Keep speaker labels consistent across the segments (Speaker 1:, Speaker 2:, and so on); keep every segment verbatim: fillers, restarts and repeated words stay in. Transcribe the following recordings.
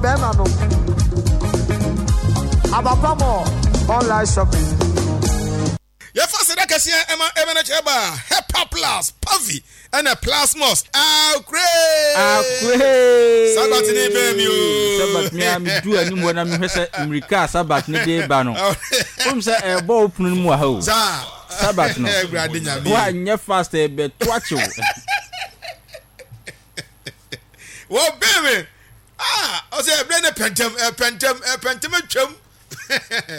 Speaker 1: Bɛrima no abapamɔ online shopping.
Speaker 2: Yɛfa seda kɛseɛ ɛma ɛmɛnɛ kyerɛ ba Hepa Plus, Pavi ɛna Plasmos. Akure
Speaker 3: Akure.
Speaker 2: Sabat ne bɛn mi o.
Speaker 3: Sabat mi a mi du anim hɔ na mi hwɛ sɛ mmirika a Sabat ne de ba no o mi sɛ ɛbɔ o pono no mu wɔ ha o.
Speaker 2: Saa.
Speaker 3: Sabat no.
Speaker 2: Awurade Nyame.
Speaker 3: Wa nyɛ fast, ɛbɛ to akyew.
Speaker 2: Wɔ bɛn mi ah, ɔsɛ ɛbrɛ ne pɛntɛm ɛpɛntɛm ɛpɛntɛm atwam.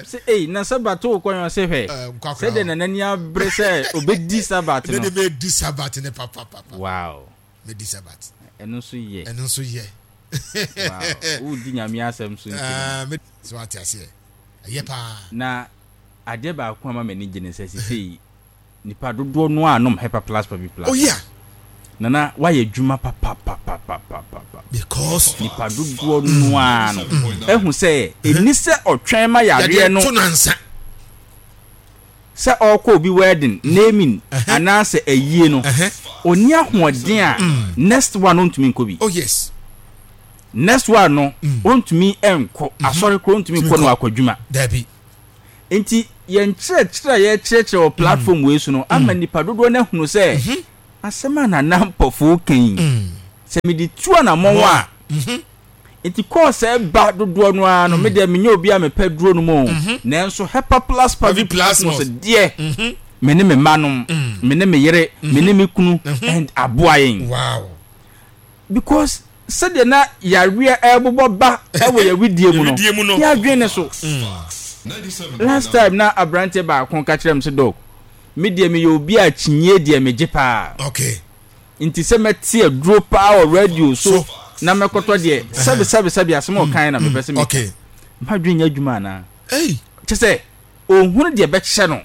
Speaker 3: Sɛ ei na Sabat o kɔn ɔsɛ hwɛ.
Speaker 2: Eh, nkwa
Speaker 3: sɛ de nanani abere sɛ obedi Sabat
Speaker 2: ne
Speaker 3: no.
Speaker 2: De mɛ di Sabat ne papapapa.
Speaker 3: Wow.
Speaker 2: Mɛ di Sabat.
Speaker 3: Ɛno nso yɛ.
Speaker 2: Ɛno nso yɛ.
Speaker 3: Wow, wodi Nyame asɛm so nti no.
Speaker 2: Ɛɛ, mɛ sɛ wate aseɛ, ɛyɛ paa.
Speaker 3: Na adeɛ baako a ma m'ani gye ne sɛ sisei nipa dodoɔ no a nom Hepa Plus Pavi Plus.
Speaker 2: Oh yeah.
Speaker 3: Nana wayɛ adwuma papapapapapa.
Speaker 2: Because
Speaker 3: nipa dodoɔ no a no ehu sɛ ɛni sɛ ɔtwɛn ma yareɛ no
Speaker 2: to nansa
Speaker 3: sɛ ɔrekɔ obi wedding, naming anaasɛ ayie no, ɔni ahoɔden a, next one ɔntumi nkɔ bi.
Speaker 2: Oh yes.
Speaker 3: Next one no ɔntumi nkɔ asɔre koro, ɔntumi nkɔ no akɔ adwuma.
Speaker 2: Dabi.
Speaker 3: Nti yɛn kyerɛkyerɛ a yɛkyerɛkyerɛ wɔ platform wei so no ama nipa dodoɔ no ahunu sɛ asɛm a Nana Mpɔfo ka yi, sɛ mede tu anammɔn a, nti kɔɔ sɛ ba dodoɔ no ara no, me deɛ menyɛ obi a mepɛ duro no mu o, nanso Hepa Plus Pavi Plus no sɛ deɛ me ne me mma nom, me ne me yere, me ne me kunu, and aboa yɛn.
Speaker 2: Wow.
Speaker 3: Because sɛdeɛ na yareɛ ɛrebobɔ ba ɛwɔ yɛwidie mu no,
Speaker 2: Yɛwidie mu no.
Speaker 3: Yɛadwene ne so. Last time na aberanteɛ baako ka kyerɛ me sɛ, "Doc, me deɛ meyɛ obi a kyinyie deɛ megye paa,
Speaker 2: okay
Speaker 3: nti sɛ mɛte aduro paa wɔ radio so
Speaker 2: So.
Speaker 3: na mɛkɔtɔ deɛ, sɛbi sɛbi sɛbi, asɛm a ɔkan na mepɛ sɛ meka,
Speaker 2: okay
Speaker 3: madwene nyɛ adwuma anaa?"
Speaker 2: Hey.
Speaker 3: Kyɛ sɛ ohunu deɛ bɛkyɛ no.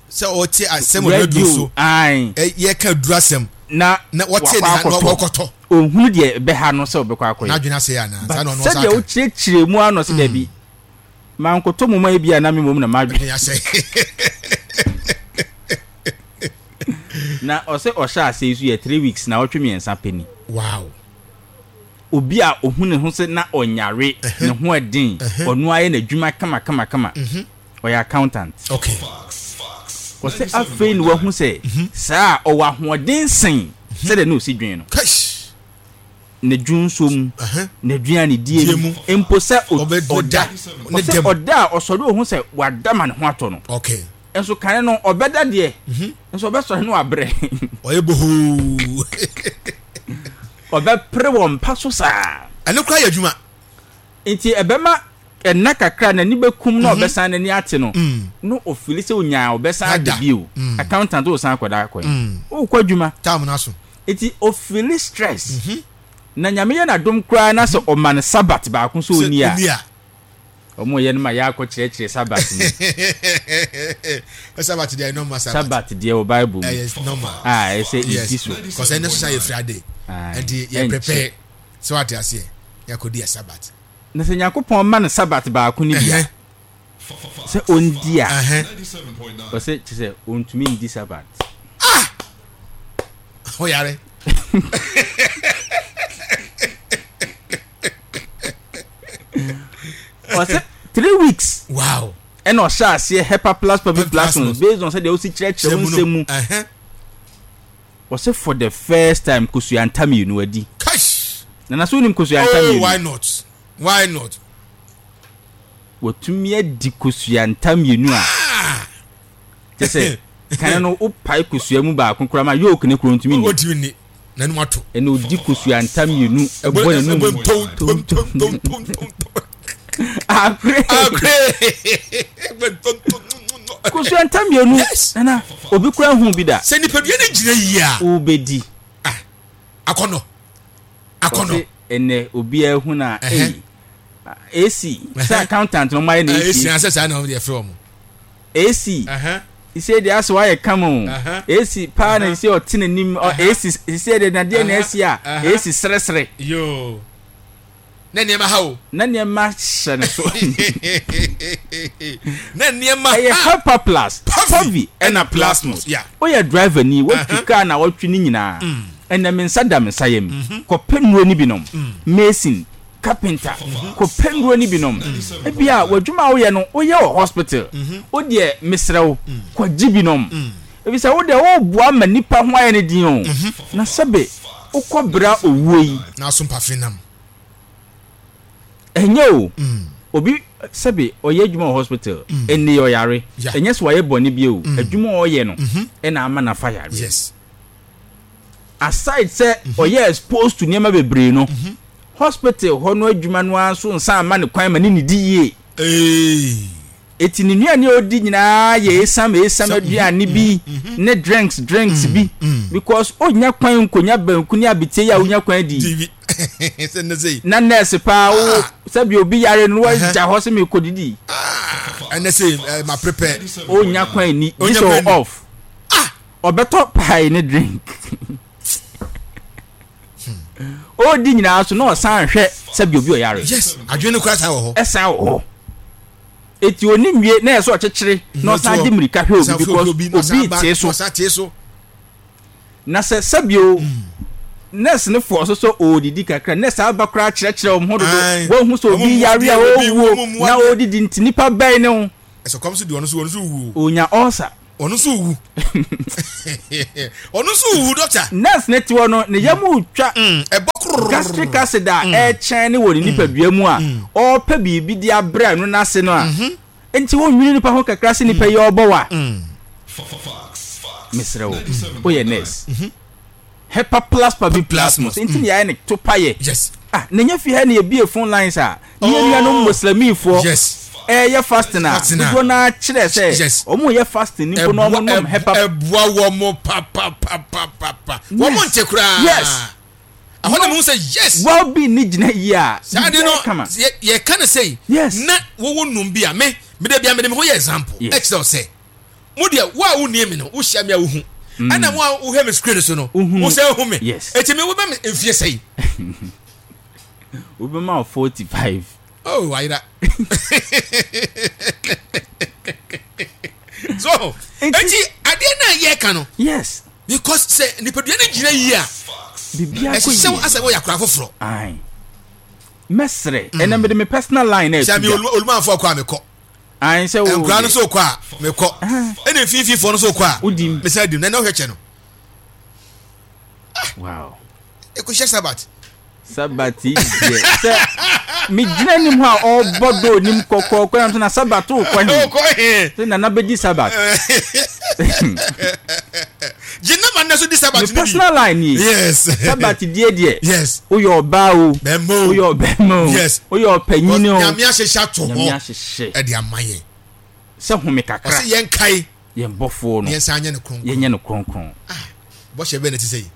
Speaker 2: Sɛ ɔte asɛm wɔ radio so.
Speaker 3: Ae.
Speaker 2: Ɛ, yɛka duru asɛm
Speaker 3: na
Speaker 2: na wɔte
Speaker 3: wakɔ
Speaker 2: ne ha na
Speaker 3: akɔtɔ.
Speaker 2: wɔkɔtɔ.
Speaker 3: Ohunu deɛ ɛbɛha no sɛ ɔbɛkɔ akɔyɛ.
Speaker 2: N'adwene asɛe anaa?
Speaker 3: But
Speaker 2: saa na ɔno ɔsa
Speaker 3: sɛdeɛ
Speaker 2: aka.
Speaker 3: wokyerɛkyerɛ mu ano sɛ dabi, mankɔtɔ mu ma ebi a na me mmom na madwene
Speaker 2: adwene asɛe.
Speaker 3: Na ɔsɛ ɔhyɛ ase yi so yɛ three weeks na ɔtwe mmiɛnsa pɛ ni.
Speaker 2: Wow.
Speaker 3: Obi a ohu ne ho sɛ na ɔnyare, ne ho ɛden, ɔno ayɛ n'adwuma kama kama kama, ɔyɛ accountant.
Speaker 2: Okay
Speaker 3: ɔsɛ afei na wahu sɛ saa a ɔwɔ ahoɔden sen sɛdeɛ na osi dwen no.
Speaker 2: Kash.
Speaker 3: Ne dwonso mu,
Speaker 2: Ɛhɛn.
Speaker 3: n'aduane die
Speaker 2: Die
Speaker 3: mu,
Speaker 2: mu.
Speaker 3: mpo sɛ o-
Speaker 2: Ɔbɛ-
Speaker 3: ɔda
Speaker 2: ne
Speaker 3: ɔsɛ
Speaker 2: dɛm.
Speaker 3: ɔda a ɔsɔre ohu sɛ wada ma ne ho atɔ no.
Speaker 2: Okay
Speaker 3: nso kane no ɔbɛda deɛ, nso ɔbɛsɔre no wabrɛ.
Speaker 2: Ɔyɛ bohoo.
Speaker 3: Ɔbɛpere wɔ mpa so saa.
Speaker 2: Ɛno koraa yɛ adwuma.
Speaker 3: Nti ɛbɛma ɛna kakra n'ani bɛkum na ɔbɛsan n'ani ate no na ofili sɛ onyaa ɔbɛsan ada
Speaker 2: Ada.
Speaker 3: bio. Accountant ɔsan akɔda akɔyɛ wokɔ adwuma.
Speaker 2: Time no aso.
Speaker 3: Nti ofili stress na Nyame yɛ n'adom koraa na sɛ ɔma no Sabat baako so
Speaker 2: sɛ
Speaker 3: ɔni a
Speaker 2: ɔni a
Speaker 3: ɔmo yɛ no ma yɛ akɔ kyerɛkyerɛ Sabat mu.
Speaker 2: Sabat deɛ, normal Sabat.
Speaker 3: Sabat deɛ wɔ Bible mu.
Speaker 2: Ɛyɛ normal.
Speaker 3: A ɛsɛ
Speaker 2: yes
Speaker 3: ɛdi so.
Speaker 2: Cause ɛnɛ so sa yɛ Friday.
Speaker 3: Aye.
Speaker 2: Nti yɛ
Speaker 3: ɛnkyɛ.
Speaker 2: prepare sɛ wate aseɛ, yɛakɔdi yɛ Sabat.
Speaker 3: Na sɛ Nyankopɔn ma no Sabat baako no bi a
Speaker 2: Ɛhɛn.
Speaker 3: sɛ ɔndi a,
Speaker 2: Ɛhɛn.
Speaker 3: ɔsɛ kyɛ sɛ ɔntumi ndi Sabat.
Speaker 2: Ɔyare.
Speaker 3: Ɔsɛ three weeks
Speaker 2: wow
Speaker 3: ɛna ɔhyɛ aseɛ Hepa Plus Pavi
Speaker 2: Plus
Speaker 3: Plus
Speaker 2: Plus.
Speaker 3: based on sɛdeɛ wosi kyerɛkyerɛ wo nsɛm mu.
Speaker 2: Ɛhɛn.
Speaker 3: Ɔsɛ for the first time kosua nta mmienu adi.
Speaker 2: Kash.
Speaker 3: Nana, so wonim kosua nta
Speaker 2: Oh,
Speaker 3: mmienu?
Speaker 2: why not, why not?
Speaker 3: Watumi adi kosua nta mmienu a
Speaker 2: ah
Speaker 3: kyɛ sɛ kane no wopae kosua mu baako koraa ma yolk ne kuro ntumi nni.
Speaker 2: Ɔntumi nni, n'anim ato.
Speaker 3: Ɛna odi kosua nta mmienu ɛbɔ n'anum.
Speaker 2: Ɛbɔ tom tom tom tom tom tom tom.
Speaker 3: Akore.
Speaker 2: Akore. Ɛbɔ tom tom tom tom.
Speaker 3: Kosua nta mmienu.
Speaker 2: Yes.
Speaker 3: Nana, obi kora hu bi da.
Speaker 2: Sɛ nipadua no gyina yie a,
Speaker 3: wobɛdi.
Speaker 2: Ah, akɔnɔ akɔnɔ.
Speaker 3: Ɔse ɛnɛ obiara hu na
Speaker 2: Ɛhɛ.
Speaker 3: ei, A C sɛ accountant no ɔmayɛ na
Speaker 2: A C
Speaker 3: A C.
Speaker 2: Asɛ saa na wɔn de yɛfrɛ wɔn.
Speaker 3: A C
Speaker 2: Ɛhɛn.
Speaker 3: sɛ deɛ asɛ wayɛ kama o.
Speaker 2: Ɛhɛn.
Speaker 3: A C paa na sɛ ɔte n'anim ɔ- A C sɛ deɛ nadeɛ na asi a
Speaker 2: Ɛhɛn.
Speaker 3: A C seresere.
Speaker 2: Yoo, na nneɛma ha o.
Speaker 3: Na nneɛma hyɛ ne so.
Speaker 2: Na nneɛma
Speaker 3: ɛyɛ
Speaker 2: ha.
Speaker 3: Hepa Plus
Speaker 2: Pavi
Speaker 3: Pavi ɛna Plasmos.
Speaker 2: Yeah.
Speaker 3: Woyɛ driver ni, watwi kaa na watwi ne nyinaa, ɛnɛ me nsa da me nsa yam, kɔpɛ nnuro no bi nom. Mason Carpenter, kɔpɛ nnuro no bi nom. Ebia w'adwuma a woyɛ no, woyɛ wɔ hospital. Wo deɛ, mesrɛ wo, kɔgye bi nom. Efisɛ wo deɛ, woreboa ma nnipa ho ayɛ no den o. Na sɛbe wokɔ bra owuo yi.
Speaker 2: Na aso mpafe nam.
Speaker 3: Ɛnyɛ o. Obi, sɛbe ɔyɛ adwuma wɔ hospital, ɛnnɛ yi ɔyare. Ɛnyɛ sɛ wayɛ bɔne bi o. Adwuma a ɔyɛ no na ama no afa yareɛ.
Speaker 2: Yes.
Speaker 3: Aside sɛ ɔyɛ exposed to nneɛma bebree no, hospital hɔ no adwuma no ara nso nsan mma no kwan ma ne nnidi yie. Eti ne nnuane a ɔdi nyinaa yɛ esiam esiam aduane bi ne drinks drinks bi because ɔnnya kwan nkonya banku ne abetie yi a wonya kwan di yi. Na nurse paa wo sɛbi obi yare no wagya hɔ sɛ mekɔdidi.
Speaker 2: Ɛnɛ sɛ ma prepare.
Speaker 3: Ɔnnya kwan ni gye sɛ off. Ɔbɛtɔ pie ne drink. Ɔredi nyinaa so na ɔsan hwɛ sɛbi obi ɔyare.
Speaker 2: Yes, adwene no koraa san wɔ hɔ.
Speaker 3: Ɛsan wɔ hɔ. Eti oni nwie na ɛsɛ ɔkyekyere na ɔsan de mmirika hwɛ obi because obi tee so.
Speaker 2: Ɔsan tee so.
Speaker 3: Na sɛ sɛbi o nurse no fɔ so sɛ ɔredidi kakra, nurse aba koraa kyerɛkyerɛ wɔn ho dodo. Wɔn ho sɛ obi yare a ɔrewuo na ɔredidi nti nipa bɛn ne ho.
Speaker 2: Ɛsɛ kɔm so di ɔno so ɔno so wuo.
Speaker 3: Onya ulcer.
Speaker 2: Ɔno nso wu. Ɔno nso wu dɔkta.
Speaker 3: Nurse ne te hɔ no ne yam retwa.
Speaker 2: Mm, ɛbɔ kororororo.
Speaker 3: Gastric acid a mm. ɛrekyɛn ne wɔ ne mm. nipadua mu a mm. ɔrepɛ biribi de abrɛ no n'ase no a. Mm-hmm. Nti wonwene nipa ho kakra sɛ nipa yi ɔrebɔ wa. Mesrɛ wo, woyɛ nurse. Mm-hmm. Hepa plus paviplasmus nti na yɛayɛ no to payɛ.
Speaker 2: Yes.
Speaker 3: Ah, na ɛnyɛ fie ha na yɛbie phone lines a ne yɛn nuanom Muslimifoɔ
Speaker 2: Yes.
Speaker 3: ɛreyɛ fasting a
Speaker 2: Fasting a.
Speaker 3: dodoɔ no ara kyerɛ sɛ
Speaker 2: Yes.
Speaker 3: wɔn reyɛ fasting no mpo na wɔn nom hepa.
Speaker 2: Ɛboa wɔn papapapapa. Wɔn
Speaker 3: Yes.
Speaker 2: nte koraa.
Speaker 3: Yes.
Speaker 2: Ɛhɔ na mehu sɛ yes.
Speaker 3: Well being ne gyina yie a
Speaker 2: Saa ade no
Speaker 3: biribiara kama.
Speaker 2: yɛ yɛka no sei.
Speaker 3: Yes.
Speaker 2: Na wɔwɔ num bi a me mede bia mede me ho yɛ example.
Speaker 3: Yes.
Speaker 2: Ɛkyerɛ wo sɛ mo deɛ wo a wonnie me no wohyia me a wohu mm. Ɛna mo a wohwɛ me screen so no wo sɛ hu me.
Speaker 3: Yes.
Speaker 2: Eti me wobɛ me mfie sɛyi?
Speaker 3: Wobɛma wo forty-five.
Speaker 2: Oh, ayera. So eti adeɛ no a yɛka no,
Speaker 3: yes,
Speaker 2: because sɛ nipadua no gyina yie a,
Speaker 3: biribiara kɔ
Speaker 2: ɛhyehyɛ wo
Speaker 3: yie.
Speaker 2: Asɛ wɔyɛ akora foforɔ.
Speaker 3: Ae, mɛsrɛ ɛnna mede me personal line na
Speaker 2: sɛ
Speaker 3: ɛto
Speaker 2: me
Speaker 3: dwa.
Speaker 2: Olumanfoɔ kɔ a mekɔ.
Speaker 3: Ae, sɛ wo
Speaker 2: nkora no
Speaker 3: deɛ.
Speaker 2: so kɔ a mekɔ, ɛna mfimfinifoɔ no so kɔ a
Speaker 3: Wodim.
Speaker 2: Mesan dim na ɛna wohwɛ kyɛ no.
Speaker 3: Wow.
Speaker 2: Ɛkɔhyɛ Sabat.
Speaker 3: Sabat yi deɛ sɛ megyina anim hɔ a ɔrebɔ dɔ onim kɔkɔɔkɔ nam sɛ na Sabat wokɔ he?
Speaker 2: Wokɔ he?
Speaker 3: Sɛ nana bɛdi Sabat.
Speaker 2: Gye na ma nnɛ so di Sabat
Speaker 3: Me
Speaker 2: no bi.
Speaker 3: personal line nie.
Speaker 2: Yes.
Speaker 3: Sabat die deɛ.
Speaker 2: Yes.
Speaker 3: Woyɛ ɔbaa o.
Speaker 2: Bɛrima o.
Speaker 3: Woyɛ ɔbɛrima o.
Speaker 2: Yes.
Speaker 3: Woyɛ ɔpanyin o.
Speaker 2: Nyame ahyehyɛ ato hɔ.
Speaker 3: Nyame ahyehyɛ.
Speaker 2: Ɛde ama yɛn.
Speaker 3: Sɛ home kakra.
Speaker 2: Ɔsɛ yɛn kae.
Speaker 3: Yɛn bɔfoɔ no.
Speaker 2: Yɛn san nyɛ no kronkron.
Speaker 3: Yɛnyɛ no kronkron.
Speaker 2: Ah, bɔhyɛ bɛn na ɛte sɛ yi?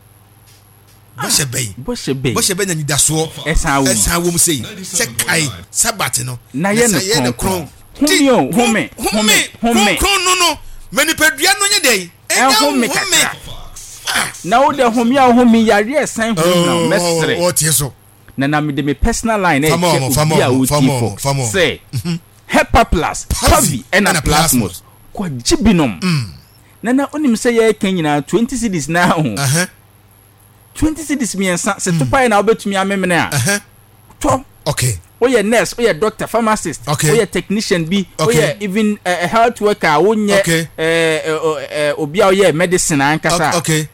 Speaker 2: Bɔhyɛ bɛn?
Speaker 3: Bɔhyɛ bɛn?
Speaker 2: Bɔhyɛ bɛn na anidasoɔ
Speaker 3: ɛsan wɔ mu?
Speaker 2: Ɛsan wɔ mu sɛ yi. Sɛ kae Sabat no.
Speaker 3: Na yɛ no kronkron. Home o, home, home, home.
Speaker 2: Kronkron no no, ma nipadua no nyɛ dɛn?
Speaker 3: Ɛhome kakra. Na wo deɛ home a wohome yareɛ ɛsan home na mɛsrɛ.
Speaker 2: Ɔtie so.
Speaker 3: Na na mede me personal line na ɛkyɛ obi a ɔtie Fox sɛ Hepa Plus, Pavi ɛna Plasmos kɔgye binom. Na na wonim sɛ yɛreka nyinaa twenty cedis na ho. Twenty cedis mmiɛnsa sɛ topaeɛ na wobɛtumi amemene a tɔ.
Speaker 2: Okay.
Speaker 3: Woyɛ nurse, woyɛ doctor, pharmacist,
Speaker 2: okay,
Speaker 3: woyɛ technician bi,
Speaker 2: okay,
Speaker 3: woyɛ even uh, health worker a wonyɛ
Speaker 2: okay,
Speaker 3: uh, uh, obi a woyɛ medicine ankasa.
Speaker 2: Okay.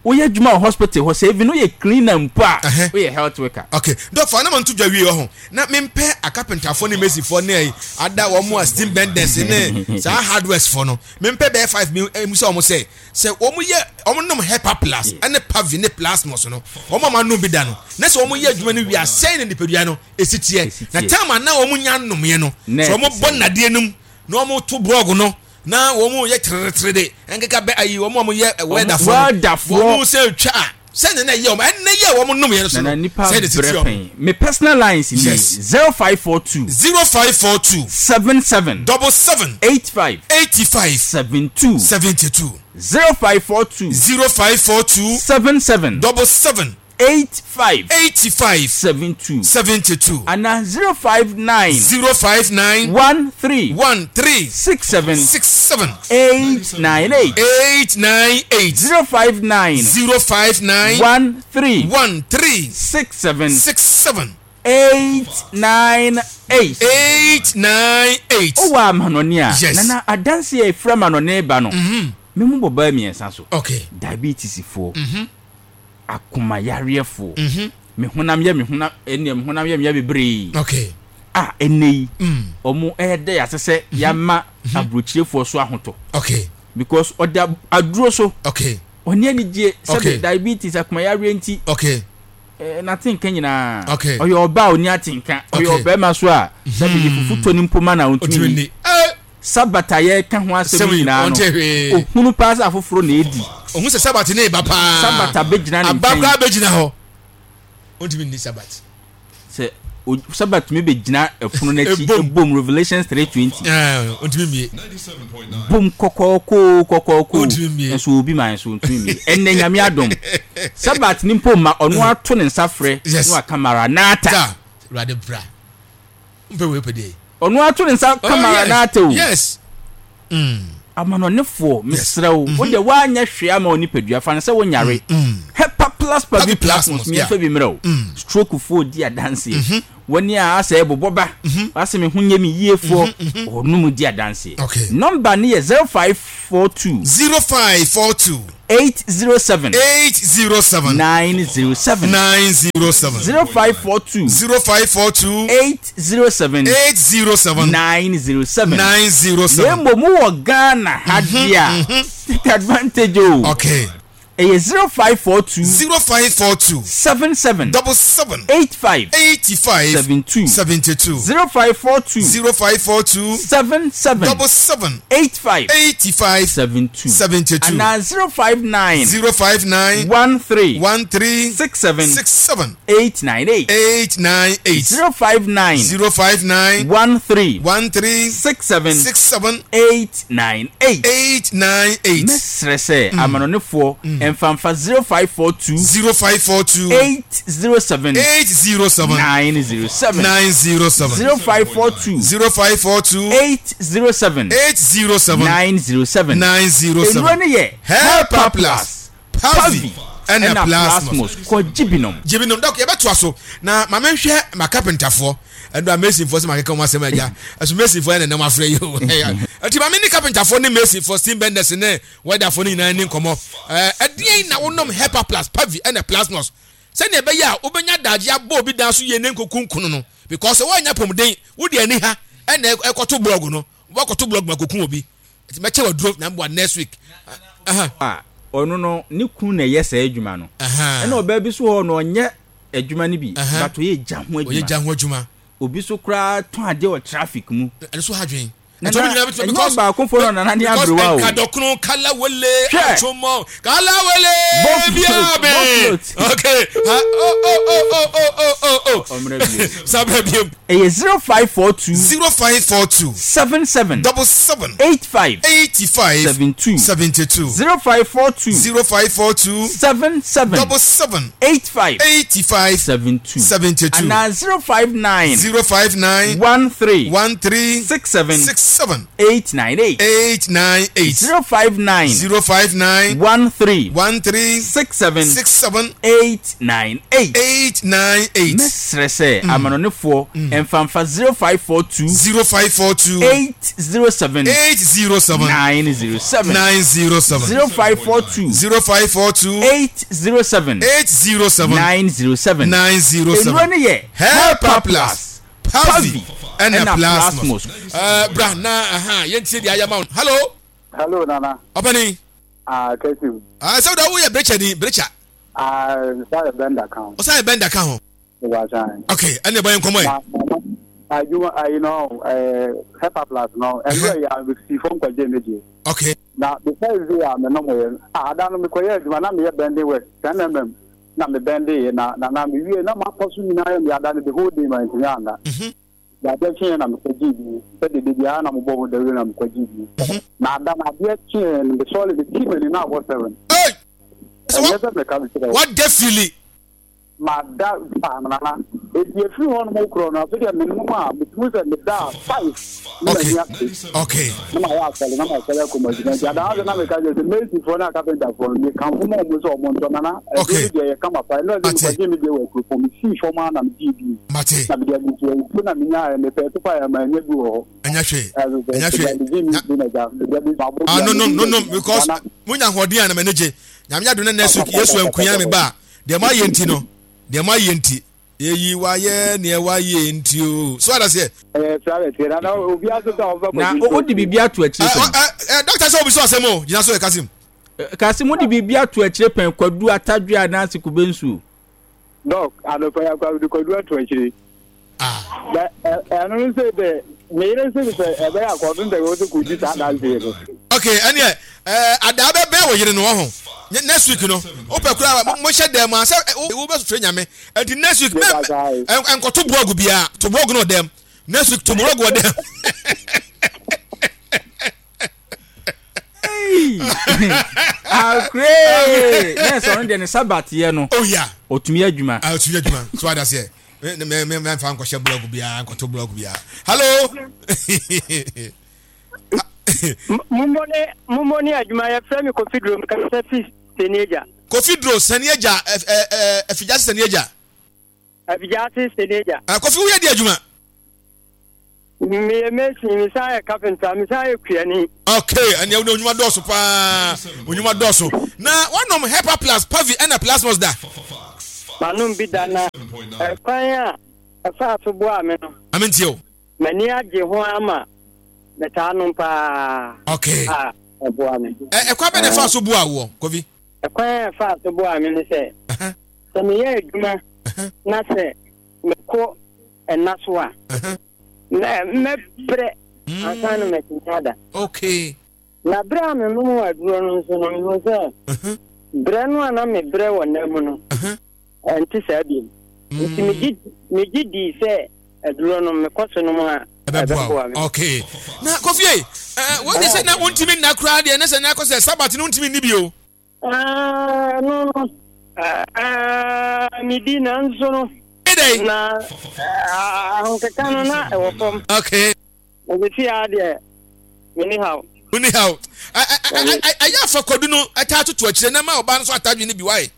Speaker 3: Woyɛ adwuma wɔ hospital hɔ sɛ even woyɛ cleaner mpo a,
Speaker 2: uh-huh,
Speaker 3: woyɛ health worker.
Speaker 2: Okay. Dɔfo anam nto dwa wie wɔ ho. Na mempɛ akapentafoɔ ne mesifoɔ ne ada wɔn a steam benders ne saa hardwares foɔ no. Mempɛ bɛyɛ five mi emu sɛ wɔn sɛ sɛ wɔn yɛ wɔn nom Hepa Plus ɛne Pavi ne Plasmos no, wɔn a wɔn anom bi da no, na sɛ wɔn yɛ adwuma no wie a, sɛn na nipadua no esi teɛ? Na time a na wɔn nya nnomyɛ no, sɛ wɔn bɔ nnadeɛ no mu na wɔn to brɔg no na wɔn yɛ teretere de nkeka bɛ ayi wɔn a wɔn yɛ wɛdafoɔ no, wɔn sɛ twa a, sɛn na ɛyɛ wɔn ɛnna yɛ wɔn nom yɛ no so no,
Speaker 3: Nana nipa
Speaker 2: sɛn na esi
Speaker 3: brɛ
Speaker 2: teɛ wɔn?
Speaker 3: Pɛn. Me personal lines ni.
Speaker 2: Yes.
Speaker 3: Zero five four two.
Speaker 2: Zero five four two.
Speaker 3: Seven seven.
Speaker 2: Double seven.
Speaker 3: Eight five.
Speaker 2: Eighty five.
Speaker 3: Seven two.
Speaker 2: Seventy two.
Speaker 3: Zero five four two.
Speaker 2: Zero five four two.
Speaker 3: Seven seven.
Speaker 2: Double seven.
Speaker 3: Eight five.
Speaker 2: Eighty five.
Speaker 3: Seven two.
Speaker 2: Seventy two.
Speaker 3: Ana zero five nine.
Speaker 2: Zero five nine.
Speaker 3: One three.
Speaker 2: One three.
Speaker 3: Six seven.
Speaker 2: Six seven.
Speaker 3: Eight nine eight.
Speaker 2: Eight nine eight.
Speaker 3: Zero five nine.
Speaker 2: Zero five nine.
Speaker 3: One three.
Speaker 2: One three.
Speaker 3: Six seven.
Speaker 2: Six seven.
Speaker 3: eight nine eight
Speaker 2: eight nine eight.
Speaker 3: Wowɔ amanɔne a,
Speaker 2: Yes.
Speaker 3: Nana, adanse a ɛfiri amanɔne ba no, me mu bɔ baa mmiɛnsa so.
Speaker 2: Okay.
Speaker 3: Diabetes foɔ, akomayareɛfoɔ, me honam yɛ me honam ɛnneɛ me honam yɛ me yɛ bebree
Speaker 2: Okay.
Speaker 3: a ɛnɛ yi ɔmo ɛyɛ dɛ ase sɛ yɛama aburokyirefoɔ so ahotɔ
Speaker 2: Okay.
Speaker 3: because ɔda aduro so.
Speaker 2: Okay.
Speaker 3: Ɔne anigye
Speaker 2: Okay.
Speaker 3: sɛbe diabetes, akomayareɛ nti
Speaker 2: Okay.
Speaker 3: eh, n'atenka nyinaa.
Speaker 2: Okay.
Speaker 3: Ɔyɛ ɔbaa a ɔni atenka, ɔyɛ
Speaker 2: Okay.
Speaker 3: ɔbɛrima so a sɛbe yɛ fufu tɔ ne mpoma na ɔntumi
Speaker 2: Otumi
Speaker 3: ni.
Speaker 2: ni. Eh.
Speaker 3: Sabata yɛka ho asɛm
Speaker 2: Sɛm yi,
Speaker 3: nyinaa no,
Speaker 2: ɔnte hwee.
Speaker 3: ohunu paa sɛ afoforɔ na edi.
Speaker 2: Ohun sɛ Sabat ne ba paa.
Speaker 3: Sabata bɛgyina ne
Speaker 2: Aba
Speaker 3: nkyɛn.
Speaker 2: koraa bɛgyina hɔ. Ontumi ni Sabat.
Speaker 3: Sɛ o- Sabat tumi bɛgyina ɛpono n'akyi.
Speaker 2: Ebom.
Speaker 3: Ebom, Revelations three twenty.
Speaker 2: Ɛɛ, ontumi mie.
Speaker 3: Bom kɔkɔɔkoo kɔkɔɔkoo.
Speaker 2: Ontumi mmie.
Speaker 3: Nso obi ma nso ntumi mmie. Ɛnɛ Nyame adom, Sabat ni mpo ma ɔno ato ne nsa frɛ
Speaker 2: Yes.
Speaker 3: na waka maranata.
Speaker 2: Ta. Awurade bra. Mpɛ wei pɛ deɛ.
Speaker 3: Ɔno ato ne nsa ka
Speaker 2: Oh, yes.
Speaker 3: maranata o.
Speaker 2: Yes. Mm.
Speaker 3: Amanɔnefoɔ, mesrɛ wo, wode woanyɛ hwee ama wo nipadua, fa no sɛ wonyare, Hepa Plus Pavi
Speaker 2: Pavi Plasmos,
Speaker 3: Plasmos mmiɛmfa bi mmerɛ wo. Stroke foɔ di adanseɛ, wɔne a asɛ ɛbobɔ ba asɛ me ho nyɛ me yiefoɔ, ɔnom di adanseɛ.
Speaker 2: Okay.
Speaker 3: Number ne yɛ zero five four two
Speaker 2: Zero five four two
Speaker 3: eight zero seven
Speaker 2: eight zero seven
Speaker 3: nine zero seven
Speaker 2: nine zero seven.
Speaker 3: zero five four two
Speaker 2: Zero five four two
Speaker 3: eight zero seven
Speaker 2: eight zero seven
Speaker 3: nine zero seven.
Speaker 2: nine zero
Speaker 3: Na
Speaker 2: seven.
Speaker 3: mmom wowɔ Ghana ha deɛ a, take advantage o.
Speaker 2: Okay.
Speaker 3: Ɛyɛ zero five four two
Speaker 2: Zero five four two
Speaker 3: seven seven
Speaker 2: double seven
Speaker 3: eight five
Speaker 2: eighty five
Speaker 3: seven two.
Speaker 2: seventy two.
Speaker 3: zero five four two
Speaker 2: Zero five four two
Speaker 3: seven seven
Speaker 2: double seven
Speaker 3: eight five
Speaker 2: eighty five
Speaker 3: seven two
Speaker 2: seventy two.
Speaker 3: Anaa zero five nine
Speaker 2: Zero five nine
Speaker 3: one three
Speaker 2: one three
Speaker 3: six seven
Speaker 2: six seven
Speaker 3: eight nine eight.
Speaker 2: eight nine eight.
Speaker 3: zero five nine
Speaker 2: Zero five nine
Speaker 3: one three
Speaker 2: one three
Speaker 3: six seven
Speaker 2: six seven
Speaker 3: eight nine eight.
Speaker 2: eight nine eight.
Speaker 3: Mɛsrɛ sɛ amanɔnefoɔ ɛmfamfa zero five four two
Speaker 2: Zero five four two
Speaker 3: eight zero seven
Speaker 2: eight zero seven
Speaker 3: nine zero seven.
Speaker 2: nine zero seven.
Speaker 3: zero five four two
Speaker 2: Zero five four two
Speaker 3: eight zero seven
Speaker 2: eight zero seven
Speaker 3: nine zero seven.
Speaker 2: nine zero
Speaker 3: Nnuro
Speaker 2: seven.
Speaker 3: no yɛ
Speaker 2: Hepa Plus, Pavi ɛna Plasmos.
Speaker 3: Plasmos, kɔgye binom.
Speaker 2: Gyebi nom dɔk, yɛbɛtoa so na maame nhwɛ ma carpenterfoɔ ɛdo a masonfoɔ sɛ makeka wɔn asɛm agya ɛso masonfoɔ ɛna nam afrɛ yi o. Ɛnti maame ne carpenterfoɔ ne masonfoɔ, steam benders ne welderfoɔ no nyinaa ni nkɔmmɔ. ɛɛ ɛdeɛn na wonom Hepa Plus, Pavi ɛna Plasmos sɛnea ɛbɛyɛ a wobɛnya adagye abɔ obi dan so yie ne nkoku nkono no, because wɔanya pɔmuden wode ani ha ɛna ɛkɔto blog no, wɔkɔto blog ma koku obi. Nti mɛkyɛ waduro na mboa next week. Aha.
Speaker 3: A ɔno no ne kun na ɛyɛ saa adwuma no,
Speaker 2: Aha.
Speaker 3: ɛna ɔbaa bi so hɔ no ɔnyɛ adwuma no bi,
Speaker 2: Aha.
Speaker 3: but ɔyɛ gya ho
Speaker 2: ɔyɛ
Speaker 3: adwuma.
Speaker 2: gya ho adwuma.
Speaker 3: Obi so koraa tɔn adeɛ wɔ traffic mu.
Speaker 2: Ɛno so ha dwen.
Speaker 3: Nana, ɛnyɛ ɔbaako no nana ne aberewa o.
Speaker 2: Nkadɔkono kalawele.
Speaker 3: Hwɛ.
Speaker 2: Atwomɔ kalawele.
Speaker 3: Bɔ
Speaker 2: biabe.
Speaker 3: float.
Speaker 2: Okay, ha, oh oh oh oh oh oh oh oh.
Speaker 3: Ɔmmerɛ bio.
Speaker 2: Sábẹ biem.
Speaker 3: Ɛyɛ zero five four two
Speaker 2: Zero five four two
Speaker 3: seven seven
Speaker 2: double seven
Speaker 3: eight five
Speaker 2: eighty five
Speaker 3: seven two.
Speaker 2: seventy two.
Speaker 3: zero five four two
Speaker 2: Zero five four two
Speaker 3: seven seven
Speaker 2: double seven
Speaker 3: eight five
Speaker 2: eighty five
Speaker 3: seven two
Speaker 2: seventy two.
Speaker 3: Anaa zero five nine
Speaker 2: Zero five nine
Speaker 3: one three
Speaker 2: one three
Speaker 3: six seven
Speaker 2: six seven
Speaker 3: eight nine eight.
Speaker 2: eight nine eight.
Speaker 3: zero five nine
Speaker 2: Zero five nine
Speaker 3: one three
Speaker 2: one three
Speaker 3: six seven
Speaker 2: six seven
Speaker 3: eight nine eight.
Speaker 2: eight nine eight.
Speaker 3: Mɛsrɛ sɛ amanɔnefoɔ ɛmfamfa zero five four two
Speaker 2: Zero five four two
Speaker 3: eight zero seven
Speaker 2: eight zero seven
Speaker 3: nine zero seven.
Speaker 2: nine zero seven.
Speaker 3: zero five four two
Speaker 2: Zero five four two
Speaker 3: eight zero seven
Speaker 2: eight zero seven
Speaker 3: nine zero seven.
Speaker 2: nine zero
Speaker 3: Nnuro
Speaker 2: seven.
Speaker 3: no yɛ
Speaker 2: Hepa Plus, Pavi ɛna
Speaker 3: ɛna
Speaker 2: Plasmos.
Speaker 3: Plasmos.
Speaker 2: Ɛɛ, bra na aha yɛntie deɛ ayɛ ma wo. Hello.
Speaker 4: Hello, Nana.
Speaker 2: Ɔpɛni.
Speaker 4: Ah, Kesiw.
Speaker 2: Ah, sɛ woda woyɛ brecha ni brecha?
Speaker 4: Ah, sorry, Benda kan.
Speaker 2: Ɔsan yɛ bender ka ho.
Speaker 4: Ìwà
Speaker 2: Okay, ɛne ɛbɔ yɛn nkɔmmɔ yi.
Speaker 4: Na na adwuma ayi no eh Hepa Plus no. Ɛnu yɛ a si fom kɔgye ne die.
Speaker 2: Okay.
Speaker 4: Na the first day a me nom yɛ, ah, ada no me kɔyɛ adwuma na me yɛ bending work ten millimeters na me bending yɛ na na na me wie na ma pɔ so nyinaa yɛ me ada no the whole day ma ntumi anda.
Speaker 2: Mhm.
Speaker 4: Na adeɛ kyeɛ na me kɔgye bi sɛ dede biara na mo bɔ ho dawuro na me kɔgye bi. Na ada na adeɛ kyeɛ no me sɔre me ti m'ani na abɔ seven.
Speaker 2: Hey!
Speaker 4: Ɛnyɛ sɛ meka me kyerɛ wo.
Speaker 2: What de fili?
Speaker 4: Mada paa nana. Eti efiri hɔ nom korɔ no, afei deɛ menom a metumi sɛ meda a five na
Speaker 2: Okay.
Speaker 4: m'ani ate
Speaker 2: Okay.
Speaker 4: na mayɛ asɔre na masɔre akɔ m'adwuma. Nti adaa sɛ na meka kyerɛ sɛ mesifoɔ ne akapentafoɔ no, mekamfo ma ɔmo sɛ ɔmo ntɔ nana. Ɛduro
Speaker 2: Okay.
Speaker 4: no deɛ yɛ kama pa. Ɛno ɛsɛ
Speaker 2: Mate.
Speaker 4: mekɔgye me deɛ wɔ akuropɔn, mesii fam a na megyee bi
Speaker 2: Mate.
Speaker 4: na mede agu so nsuo na menyaeɛ, mepɛ so pa yɛ ma ɛnyɛ bi wɔ hɔ.
Speaker 2: Ɛnyɛ hwee.
Speaker 4: Ɛso sɛ
Speaker 2: Ɛnyɛ hwee.
Speaker 4: megye me
Speaker 2: Na-
Speaker 4: bi na gya mede bi mabɔ
Speaker 2: Ah,
Speaker 4: dua
Speaker 2: no, no,
Speaker 4: mede
Speaker 2: no, no,
Speaker 4: bi
Speaker 2: because
Speaker 4: nana.
Speaker 2: munya ahoɔden a na m'ani gye. Nyame adom na next week Yesu ankunya me ba a, deɛ moayɛ nti no, deɛ moayɛ nti, yɛyi wayɛ neɛ wayɛ nti o. So ada seɛ.
Speaker 4: Ɛyɛ saa bɛ tiɛ nana, obiara so sɛ ɔbɛ
Speaker 3: Na
Speaker 4: kɔgye
Speaker 3: wode biribi ato akyire
Speaker 2: Ɛ,
Speaker 3: pɛn?
Speaker 2: ɛ, ɛ, doctor sɛ obi sɛ ɔsɛm o, gyina so yɛ Kasim.
Speaker 3: Kasi mode biribi ato akyire pɛn, kwadu atadwe anaasɛ kube nsuo?
Speaker 4: Doc, anɔpa yɛ akɔ de kwadu ato akyire.
Speaker 2: Ah,
Speaker 4: Na ɛ- ɛno no sɛ dɛ meyere sɛ sɛ ɛbɛyɛ akɔdo ntɛ wɔ sɛ kɔdi saa danseɛ no.
Speaker 2: Okay, ɛneɛ ɛɛ adaa bɛbɛn wɔ yere no wɔ ho. Nye- Next week no, wopɛ koraa mo hyɛ dɛm a sɛ ɛ, wo wobɛsofrɛ Nyame. Ɛnti next week mɛ
Speaker 4: Meda saa yi.
Speaker 2: ɛ nkɔto blog biara, to blog no wɔ dɛm. Next week to blog wɔ dɛm.
Speaker 3: Akure nɛɛsɛ ɔno deɛ ne sabateɛ no
Speaker 2: Oh yeah.
Speaker 3: ɔtumi adwuma.
Speaker 2: Ah, otumi adwuma. So ada seɛ. Me me me me mfa nkɔhyɛ blog biara, nkɔto blog biara. Hello.
Speaker 5: Mummɔ ne mummɔ ne adwuma. Yɛfrɛ me Kofi Duro, mekasa fi Sani Agya.
Speaker 2: Kofi Duro, Sani Agya, ɛ ɛ ɛ Afigya Sani Agya.
Speaker 5: Afigyase Sani Agya.
Speaker 2: Ɛ Kofi, woyɛ di adwuma?
Speaker 5: Meyɛ mason, mesan yɛ carpenter, mesan yɛ kuani.
Speaker 2: Okay, ɛnna ɛwɔ onyuma dɔɔso paa, onyuma dɔɔso. Na wanom Hepa Plus, Pavi ɛna Plasmos da?
Speaker 5: Manom bi da, na ɛkwan a ɛfaa so boaa me no,
Speaker 2: Ame ntie o.
Speaker 5: M'ani agye ho ama metaa nom paa.
Speaker 2: Okay.
Speaker 5: A ɛboa me.
Speaker 2: Ɛ ɛkwan bɛ na ɛfa so boa woɔ, Kofi?
Speaker 5: Ɛkwan a ɛfaa so boaa me ne sɛ,
Speaker 2: Ɛhɛn,
Speaker 5: sɛ meyɛ adwuma
Speaker 2: ɛhɛn,
Speaker 5: na sɛ mekɔ ɛna so a,
Speaker 2: ɛhɛn.
Speaker 5: mɛ- mɛbrɛ ansa na matumi ada.
Speaker 2: Okay.
Speaker 5: Na berɛ a menom aduro no nso no, mehu sɛ
Speaker 2: Ɛhɛn,
Speaker 5: berɛ no a na mebrɛ wɔ nna mu no,
Speaker 2: ɛhɛn.
Speaker 5: ɛnte saa biom. Nti megye megye dii sɛ aduro no mekɔ so nom a,
Speaker 2: ɛbɛboa
Speaker 5: ɛbɛboa
Speaker 2: wo.
Speaker 5: me.
Speaker 2: Okay. Na Kofi ei, ɛ wɔn de sɛ na wontumi nna koraa deɛ, ne sɛ na akɔ sɛ Sabat no wontumi nni bi o.
Speaker 5: Ah, no no Ah, medi nanso no
Speaker 2: Ɛdɛ.
Speaker 5: na ah, ahokeka no na ɛwɔ fam.
Speaker 2: Okay.
Speaker 5: Ɛbɛsi a deɛ menni haw.
Speaker 2: Woni haw. Ɛ ɛ ɛ ɛ ɛyɛ afa kwadu no ɛtaa toto akyire na ma ɔbaa no so atadwe no bi wae.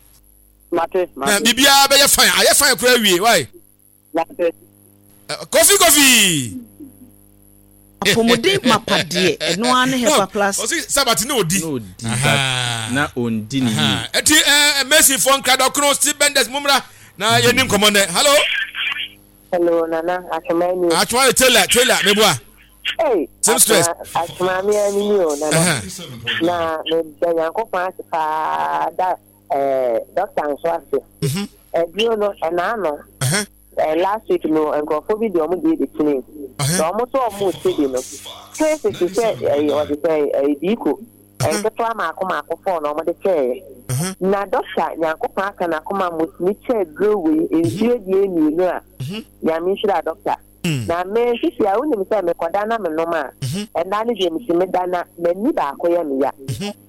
Speaker 5: Mate.
Speaker 2: Na
Speaker 5: mate.
Speaker 2: biribiara bɛyɛ fine, ayɛ fine koraa wie wae.
Speaker 5: Mate.
Speaker 2: Ɛ, Kofi Kofi.
Speaker 6: Apɔmuden mapa deɛ, ɛno ara ne Hepa Plus.
Speaker 2: Ɔsi Sabat ne odi.
Speaker 3: Na ɔdi but na ɔndi ne yie.
Speaker 2: Ɛti ɛɛ Messi fɔ nkradɔkono, Steve Benders, mumra na yɛni nkɔmɔ nɛ. Hello.
Speaker 7: Hello, Nana. Atwoma ni.
Speaker 2: Atwoma yɛ Taylor, Taylor meboa.
Speaker 7: Hey,
Speaker 2: Seamstress.
Speaker 7: Atwoma mi ani ni o, Nana.
Speaker 2: Ɛhɛn.
Speaker 7: Na meda Nyankopɔn ase paa da eh, doctor nso ase.
Speaker 2: Mhm.
Speaker 7: Aduro no, ɛna ano.
Speaker 2: Ɛhɛn.
Speaker 7: Eh, last week no, nkurɔfoɔ bi de ɔmo deɛ bɛkyini.
Speaker 2: Ɛhɛn.
Speaker 7: Na ɔmo nso ɔmo te bi no. Cases te sɛ ɛyɛ ɔde sɛ ɛyɛ diiko. Nketewa maako maako fɔɔ na ɔmo de kyɛɛ.
Speaker 2: Ɛhɛn.
Speaker 7: Na doctor, Nyankopɔn aka n'akoma mo tumi kyɛɛ duro wei nsuo deɛ mmienu a, Nyame nhyira doctor.
Speaker 2: Mm.
Speaker 7: Na me sisi a wonim sɛ mekɔda na menom a,
Speaker 2: Mhm.
Speaker 7: ɛnda no deɛ metumi da na m'ani baako yɛ me ya,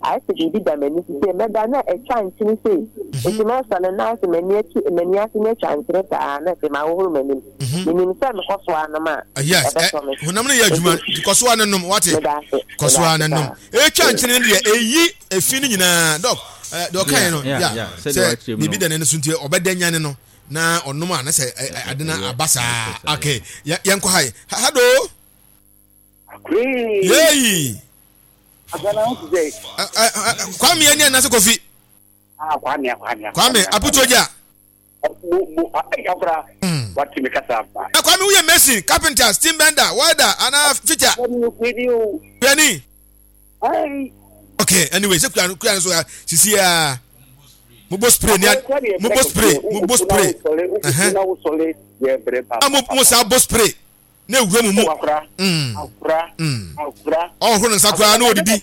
Speaker 7: ayɛ sɛ biribi da m'ani so sei, mɛda na atwa nkyene sei, nti mɛsɔre na ayɛ sɛ m'ani akyi m'ani ase no atwa nkyene saa, na afei mahohoro m'anim. Menim sɛ mekɔ so anom a,
Speaker 2: Yes. Ɛ
Speaker 7: ɛbɛtɔ me.
Speaker 2: Honam no yɛ adwuma nti kɔ so a ne nom wate.
Speaker 7: Meda ase.
Speaker 2: Kɔ so a ne
Speaker 7: Meda
Speaker 2: nom.
Speaker 7: ase.
Speaker 2: Etwa nkyene no deɛ, eyi efi no nyinaa, doc. Ɛ deɛ ɔka yɛ no
Speaker 3: Yeah,
Speaker 2: ya
Speaker 3: yeah, sɛdeɛ
Speaker 2: sɛ
Speaker 3: wakyerɛ mu
Speaker 2: biribi
Speaker 3: no.
Speaker 2: da n'ani so nti ɔbɛda nyane no na ɔnom a na sɛ ɛ, ɛ, ade no aba saa. Okay, yɛ yɛnkɔ ha yi. Hello. Yeeyi.
Speaker 4: Asana ho te sɛ
Speaker 2: Ɛ, ɛ, ɛ, Kwame ani anase Kofi?
Speaker 4: Ah, Kwame, Kwame.
Speaker 2: Kwame Aputoja.
Speaker 4: Mo mo ayi akora wate me kasa aba.
Speaker 2: Na Kwame, woyɛ mason, carpenter, steam bender, welder anaa fitter?
Speaker 4: Kwame ni o.
Speaker 2: Kuani?
Speaker 4: Ai.
Speaker 2: Okay, anyway, sɛ kura kura no so a sisi a mobɔ spray ni a mobɔ spray mobɔ spray. Ɛhɛn.
Speaker 4: Na wo sɔle yɛ brɛ ba.
Speaker 2: A mo mo saa bɔ spray na ewura mu mu.
Speaker 4: Akora.
Speaker 2: Mm.
Speaker 4: Akora.
Speaker 2: Mm.
Speaker 4: Akora.
Speaker 2: Ɔhoro ne nsa koraa na odidi.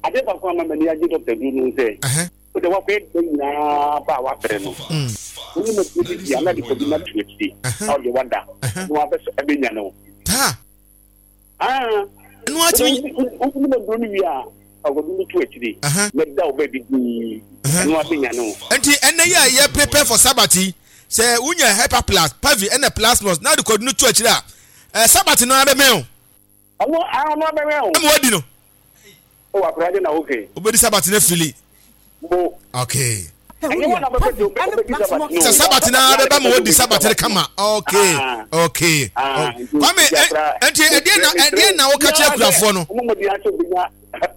Speaker 4: Ade baako ama m'ani agye doctor du no sɛ,
Speaker 2: Ɛhɛn.
Speaker 4: wode wakɔyɛ dɛ nyinaa ba a wabrɛ no,
Speaker 2: Mm.
Speaker 4: wone ma bi bi a na de kɔbi na to akyiri na wode wada na wabɛsɔ ɛbɛnya no.
Speaker 2: Taa.
Speaker 4: Ah.
Speaker 2: Ɛno atumi.
Speaker 4: Wone ma duro no wie a ɔkɔbi no to akyiri
Speaker 2: Ɛhɛn.
Speaker 4: mɛda wo baabi dii
Speaker 2: Ɛhɛn.
Speaker 4: ɛno abɛnya no.
Speaker 2: Nti ɛnɛ yi a yɛ prepare for Sabbath yi Sɛ wonya Hepa Plus, Pavi ɛna Plasmos na de kwadu no to akyire a, eh, Sabat no ara bɛmɛn o.
Speaker 4: Ɔno ara no abɛmɛn o.
Speaker 2: Ɛma wadi no.
Speaker 4: O akora de na okay.
Speaker 2: Wobɛdi Sabat no afili.
Speaker 4: Bo.
Speaker 2: Okay.
Speaker 4: Ɛnyɛ wɔn na bɛpɛ sɛ wobɛdi Sabat no.
Speaker 2: Sɛ Sabat no ara bɛba ma wadi Sabat no kama. Okay. Okay. Kwame, ɛnti ɛdeɛ na ɛdeɛ na woka kyerɛ akurafoɔ no?
Speaker 4: Ɔmo mɔden asɛ obɛnya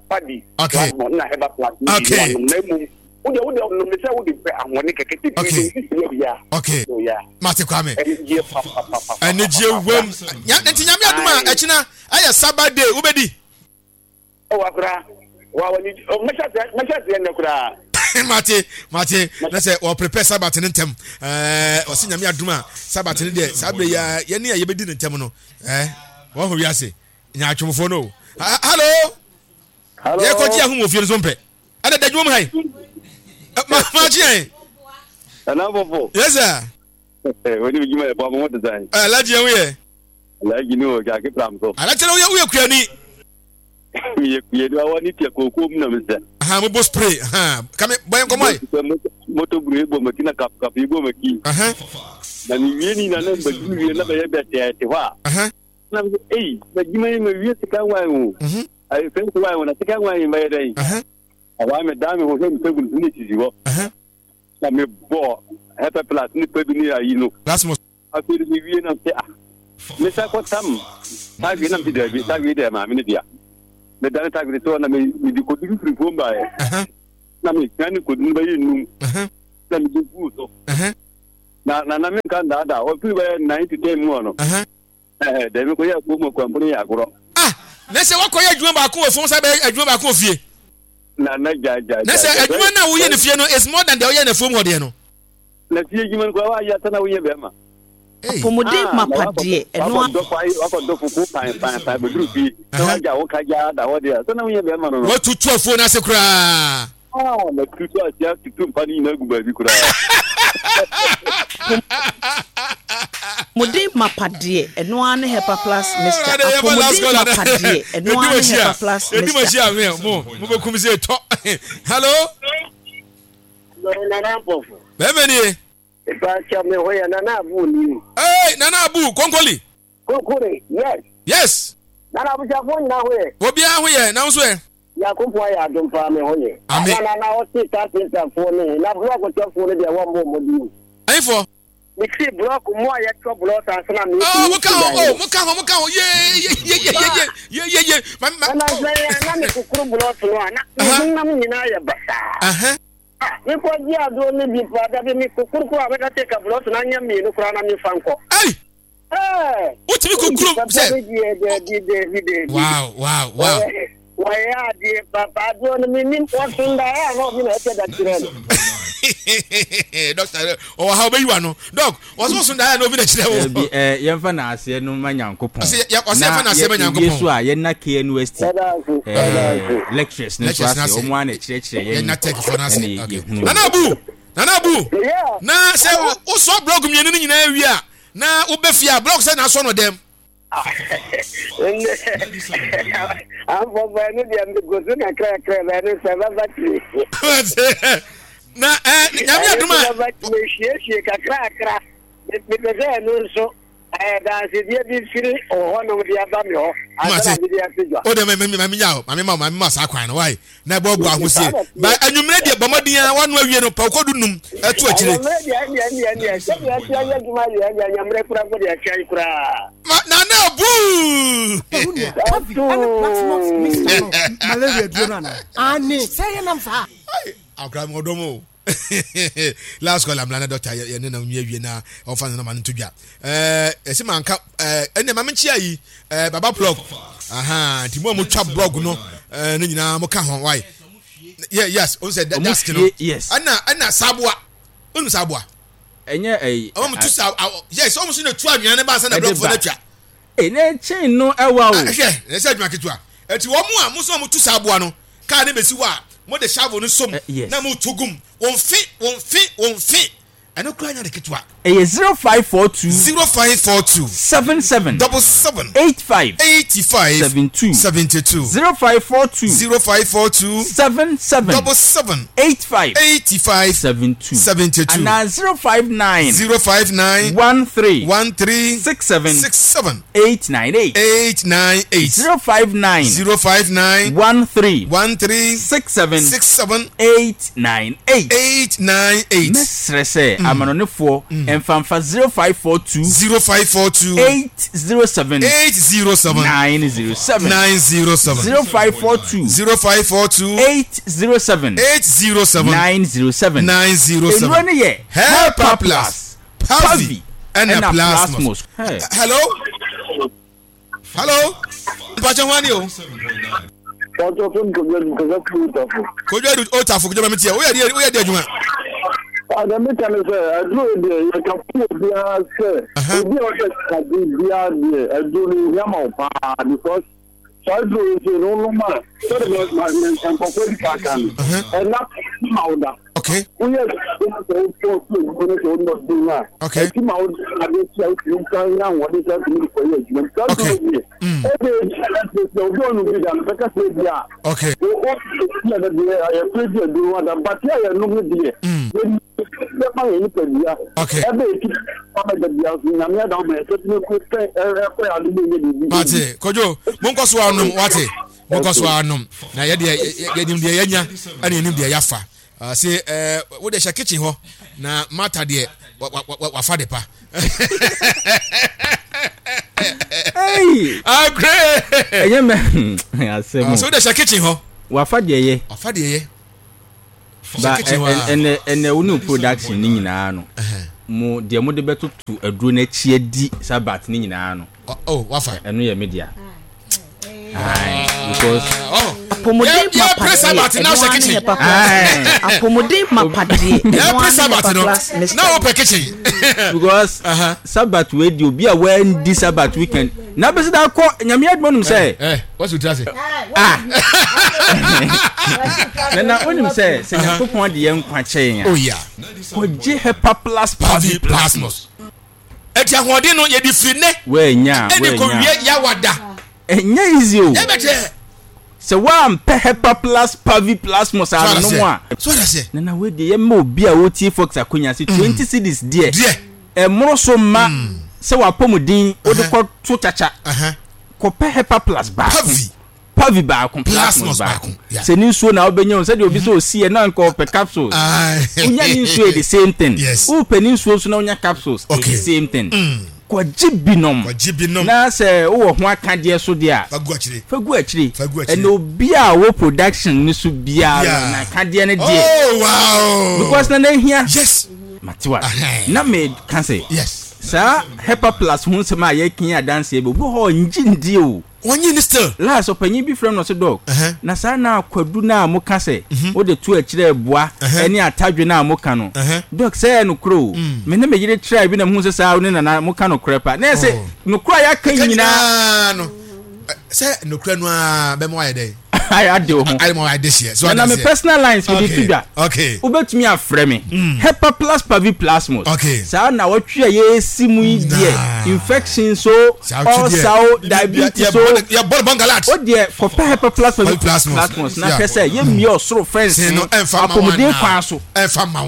Speaker 4: Pavi.
Speaker 2: Okay.
Speaker 4: Plasmos na Hepa Plus.
Speaker 2: Okay.
Speaker 4: Na mmom wode wode nom sɛ wode pɛ ahoɔden kɛkɛ titiri
Speaker 2: Okay.
Speaker 4: sisi bia.
Speaker 2: Okay.
Speaker 4: Yeah.
Speaker 2: Mate Kwame.
Speaker 4: Anigye papapapa.
Speaker 2: Anigye wam. Nti Nyame adom a ɛkyena ɛyɛ Sabbath day wobɛdi.
Speaker 4: Ɔwɔ akora. Wa wani mɛhyɛ aseɛ mɛhyɛ aseɛ nnɛ koraa.
Speaker 2: Mate mate na sɛ wɔ prepare Sabbath ne ntɛm ɛɛ ɔsi Nyame adom a Sabbath ne deɛ saa bere ya yɛne a yɛbɛdi ne ntɛm no ɛɛ wɔn ho wiase nyaatwomfoɔ no o. Hello.
Speaker 4: Hello.
Speaker 2: Yɛkɔgye ahom wɔ fie no so mpɛ. Ɛna da adwuma mu ha yi. Ma ma kye yɛn.
Speaker 4: Ɛna fɔfɔ.
Speaker 2: Yes sir.
Speaker 4: Wani mi juma yɛ bɔ mo te sɛn.
Speaker 2: Alhaji yɛn woyɛ.
Speaker 4: Alhaji ni o jaki pram so.
Speaker 2: Alhaji na woyɛ woyɛ kuani.
Speaker 4: Mi yɛ kuani awɔ ni tiɛ kooko mu na mi sɛ.
Speaker 2: Ahan mo bɔ spray ahan kame bɔ yɛn nkɔmɔ yi.
Speaker 4: Moto buru ebo ma ti na kap kap ebo ma ki. Na mi wie ni na na mba ju wie na bɛyɛ bɛ tɛ te hɔ a. Na mi sɛ eyi na juma yi ma wie sika nwan o. Ayi fɛn si wan o na sika nwan yi ma yɛ dɛ yi. Awa mi da mi ho hwɛ mi sɛ gudu ne sisi hɔ. Na mi bɔ Hepa Plus ne pɛ bi ne ayi no. Afei mi wie na sɛ ah me sa kɔ tam taagwe na mi daabi taagwe deɛ maame ne dea. Me dane taagwe sɛ na me me di kodu firi fom baeɛ. Na me sia ne kodu no bɛyɛ num. Na me de gu so. Na na na me nka ndaadaa ɔfiri bɛyɛ nine to ten mu hɔ no. Ɛɛ dɛmi kɔ yɛ afuo mu akwampɔ no yɛ agorɔ.
Speaker 2: Ah na sɛ wakɔyɛ adwuma baako wɔ fam sɛ bɛyɛ adwuma baako wɔ fie.
Speaker 4: Na na gya gya.
Speaker 2: Na sɛ adwuma no a woyɛ no fie no is more than deɛ woyɛ no afuom hɔ deɛ no.
Speaker 4: Na fie adwuma no koraa woayɛ asa na woyɛ bɛrima.
Speaker 6: Apɔmuden mapa deɛ ɛno a.
Speaker 4: Wakɔdɔ fufuo pan pan pan bɛduru fie na wagya wo ka gyaa da hɔ deɛ sɛ na woyɛ bɛrima no no.
Speaker 2: Watutu afuo no ase koraa.
Speaker 4: Ah, matutu ase atutu mpa no nyinaa gu baabi koraa.
Speaker 6: Apɔmuden mapa deɛ ɛno ara ne Hepa Plus mixture. Apɔmuden mapa deɛ ɛno ara ne Hepa Plus mixture.
Speaker 2: Edum akyi a mo mo bɛ kum se tɔ. Hello.
Speaker 5: Nana Mpɔfo.
Speaker 2: Bɛrima nie.
Speaker 5: Ìbáṣọ mi hó yẹ Nana Abu ni.
Speaker 2: Ee Nana Abu Konkoli.
Speaker 5: Konkoli yes.
Speaker 2: Yes.
Speaker 5: Nana abusuafo nyinaa ho yɛ.
Speaker 2: Obiara ho yɛ na nso yɛ.
Speaker 5: Nyankopɔn ayɛ adom paa me ho yɛ.
Speaker 2: Amen.
Speaker 5: Na na ɔte carpenterfoɔ ne na blɔk tɔfoɔ no deɛ wɔmmɔ mmɔden o.
Speaker 2: Ayifoɔ.
Speaker 5: Mesi blɔk mu a yɛtɔ blɔk ansa na mesi.
Speaker 2: Oh, mo ka ho, oh, mo ka ho, mo ka ho, ye ye ye ye ye ye ye ye. Ma ma.
Speaker 5: Ɛna sɛ yɛ na me kukuru blɔk no a na me honam nyinaa yɛ basaa. Ah, mekɔ gye aduro no bi paa dabi me kukuru kura bɛka sɛ ka blɔk no anyɛ mmienu koraa na mefa nkɔ.
Speaker 2: Ei!
Speaker 5: Ɛɛ.
Speaker 2: Wotumi kukuru sɛ.
Speaker 5: Dabi dabi dabi.
Speaker 2: Wow wow wow.
Speaker 5: Wɔyɛ adeɛ papa aduro no menim wɔso ndaeɛ a na ɔbi na ɛkyɛ da kyerɛ no.
Speaker 2: Dɔkta ɔwɔ ha ɔbɛyi wa no dɔk wɔso so ndaeɛ a na obi na kyerɛ wo.
Speaker 3: Ɛbi ɛɛ yɛmfa na aseɛ no ma Nyankopɔn.
Speaker 2: Ɔsɛ yɛ ɔsɛ yɛmfa na aseɛ ma Nyankopɔn.
Speaker 3: Na yɛ so a yɛna K N U S T ɛɛ lectures no so ase wɔn a na ɛkyerɛkyerɛ yɛn
Speaker 2: yɛna tech fo no ase.
Speaker 3: Ɛna yɛhunu.
Speaker 2: Nana Abu Nana Abu na sɛ wosɔ blɔk mmienu no nyinaa wie a na wobɛ fie a blɔk sɛ na asɔ no dɛm.
Speaker 5: Amfɔfɔ ɛno deɛ mego so kakrakra bɛ ɛno sɛ bɛba tiri.
Speaker 2: Na ɛ Nyame adom a.
Speaker 5: Bɛba mesiesie kakrakra mepɛ sɛ ɛno nso ɛyɛ dansedeɛ bi firi hɔnom de aba me hɔ ansa na mede ato dwa.
Speaker 2: O de mɛ mɛ mɛ nya o maame ma o maame ma saa kwan no wae na ɛbɔ ɔbɔ ahosie ba anwummerɛ deɛ bɔ mmɔden a wano awie no pɛ wokɔdu num ɛto akyire.
Speaker 5: Anwummerɛ deɛ ɛndeɛ ɛndeɛ ɛndeɛ sɛdeɛ ɛte ayɛ adwuma deɛ ɛndeɛ anwummerɛ koraa mpo deɛ ɛkyɛn koraa.
Speaker 2: Ma Nana Abu.
Speaker 1: Pavi ɛne Platinum mixture no malaria duro no anaa? Aane, sɛ yɛ nam saa.
Speaker 2: Akora mi ɔdɔ mo. Last call amla na doctor yɛ ne na nwie wie na ɔfa ne nɔma no to dwa. Ɛɛ ɛsi manka ɛɛ ɛnna maame nkyia yi ɛɛ baba blog aha nti mo a mo twa blog no ɛɛ ne nyinaa mo ka ho why yeah yes o sɛ desk no ɛnna ɛnna saboa onu saboa.
Speaker 3: Ɛnyɛ ɛyi.
Speaker 2: Ɔmo tu sa yes ɔmo so na tu anwea ne ba ansa na blog fo na twa.
Speaker 3: Ee ne chain no ɛwa o.
Speaker 2: Hwɛ ɛsɛ adwuma ketewa ɛti wɔn a mo nso a mo tu saboa no kaa ne besi hɔ a mo de shovel no som na mo to gum wɔn fe wɔn fe wɔn fe ɛno kura nya de ketewa.
Speaker 3: Ɛyɛ zero five four two.
Speaker 2: Zero five four two.
Speaker 3: Seven seven.
Speaker 2: Double seven.
Speaker 3: Eight five.
Speaker 2: Eighty five.
Speaker 3: Seven two.
Speaker 2: Seventy two.
Speaker 3: Zero five four two.
Speaker 2: Zero five four two.
Speaker 3: Seven seven.
Speaker 2: Double seven.
Speaker 3: Eight five.
Speaker 2: Eighty five.
Speaker 3: Seven two.
Speaker 2: Seventy two.
Speaker 3: And zero five nine.
Speaker 2: Zero five nine.
Speaker 3: One three.
Speaker 2: One three.
Speaker 3: Six seven.
Speaker 2: Six seven.
Speaker 3: Eight nine eight.
Speaker 2: Eight nine eight.
Speaker 3: Zero five nine.
Speaker 2: Zero five nine.
Speaker 3: One three.
Speaker 2: One three.
Speaker 3: Six seven.
Speaker 2: Six seven.
Speaker 3: Eight nine eight.
Speaker 2: Eight nine eight.
Speaker 3: Mesrese amanonefo. Mfanfa zero five four two
Speaker 2: zero five four two
Speaker 3: eight zero seven
Speaker 2: eight zero seven
Speaker 3: nine zero seven
Speaker 2: nine zero seven
Speaker 3: zero five four two
Speaker 2: zero five four two
Speaker 3: eight zero seven
Speaker 2: eight zero seven
Speaker 3: nine zero seven
Speaker 2: nine zero seven.
Speaker 3: Enuro ne yɛ
Speaker 2: Helper Plus Pavi ɛna Plasmos. Hello, hello, mpatsɛ hwani o. Kojú ẹdu otafo kojú ẹbẹ mi tiẹ o yẹ di o yẹ di adwuma.
Speaker 8: Adami kan sɛ aduro deɛ yɛka fún obiara sɛ obi a ɔsɛ kadi biara deɛ aduro no ehia ma wo paa because saa aduro yi sɛ no nom a sɛde ma nkɔkɔ di kaaka no ɛna ma wo da. Woyɛ aduro sɛ wotɔ so aduro no sɛ wonɔ den a ɛti ma wo ade ti a wotumi nsa nya ahoɔden sɛ wotumi de kɔyɛ adwuma nti saa aduro deɛ ɛde sɛ obi a ɔno bi da no bɛka sɛ bi a o o deɛ yɛfrɛ bi aduro ada bate a yɛnom no deɛ
Speaker 2: Okay. Mate, Kojo, monko so anom, wate. Monko so anom. Na ye de ye nim de yenya, ana nim de yafa. Ah say eh wo de hye kitchen ho na mata de wa fa de pa.
Speaker 3: Hey,
Speaker 2: agree.
Speaker 3: Enye me asem.
Speaker 2: So de hye kitchen ho.
Speaker 3: Wa fa de ye.
Speaker 2: Wa fa de ye.
Speaker 3: Ba ene ene wo production ni nyina no mo de mo de betotu aduro na chi adi sabat ni nyina no
Speaker 2: oh wafa
Speaker 3: eno ye media ai because
Speaker 2: oh
Speaker 6: apomuden mapade
Speaker 2: na she kitchen
Speaker 6: apomuden mapade
Speaker 2: na press sabat no na open kitchen
Speaker 3: because sabat we di obi a we ndi sabat weekend na be da ko nyame admo num say
Speaker 2: eh what you say
Speaker 3: ah na na onim say se nyankopon de ye nkwa che
Speaker 2: oh yeah
Speaker 3: koje Hepa Plus
Speaker 2: Pavi Plasmos eti ahode no ye di free ne
Speaker 3: we nya we
Speaker 2: nya eni ko wie ya wada
Speaker 3: enya easy o
Speaker 2: ye beche
Speaker 3: se wa mpe Hepa Plus Pavi Plasmos ano no a
Speaker 2: so that say
Speaker 3: na na we de ye ma obi a oti Fox akonya se twenty cedis de e moro so ma se wa pomudin o de ko to chacha ko pe Hepa Plus ba
Speaker 2: Pavi
Speaker 3: Pavi ba ko Plasmos ba se ni nsuo na obenya on se de obi so osi e na nko pe capsules unya ni nsuo the same thing o pe ni nsuo so na unya capsules the same thing kwaji binom na se wo ho aka de so de a
Speaker 2: fagu akire
Speaker 3: fagu akire ene obi a wo production ni so bia na ka de ne de
Speaker 2: oh wow
Speaker 3: because na na hia
Speaker 2: yes
Speaker 3: matiwa na me kan say
Speaker 2: yes
Speaker 3: sa Hepa Plus ho nsem a ye kin adanse be obi ho nji ndi o
Speaker 2: wonyi ni still
Speaker 3: last opanyin bi frem no so dog na sa na akwadu na moka se wo de to akire boa eni atadwe na moka no dog say no kro me ne me yire try bi na hu se sa ne na moka no kra pa na se no kra ya kan nyina
Speaker 2: no se no kra no a be mo aye dey
Speaker 3: I ade ho
Speaker 2: I mo ade here so
Speaker 3: na me personal lines me dey tudwa
Speaker 2: okay
Speaker 3: obetumi afrɛ me Hepa Plus Pavi Plasmos
Speaker 2: okay
Speaker 3: sa na watwe ye si mu yi de infection so ulcer diabetes so
Speaker 2: ya bol bangalat
Speaker 3: o de kɔpɛ Hepa Plus Pavi Plasmos na hwɛ sɛ ye mi osoro friends apomuden kwan so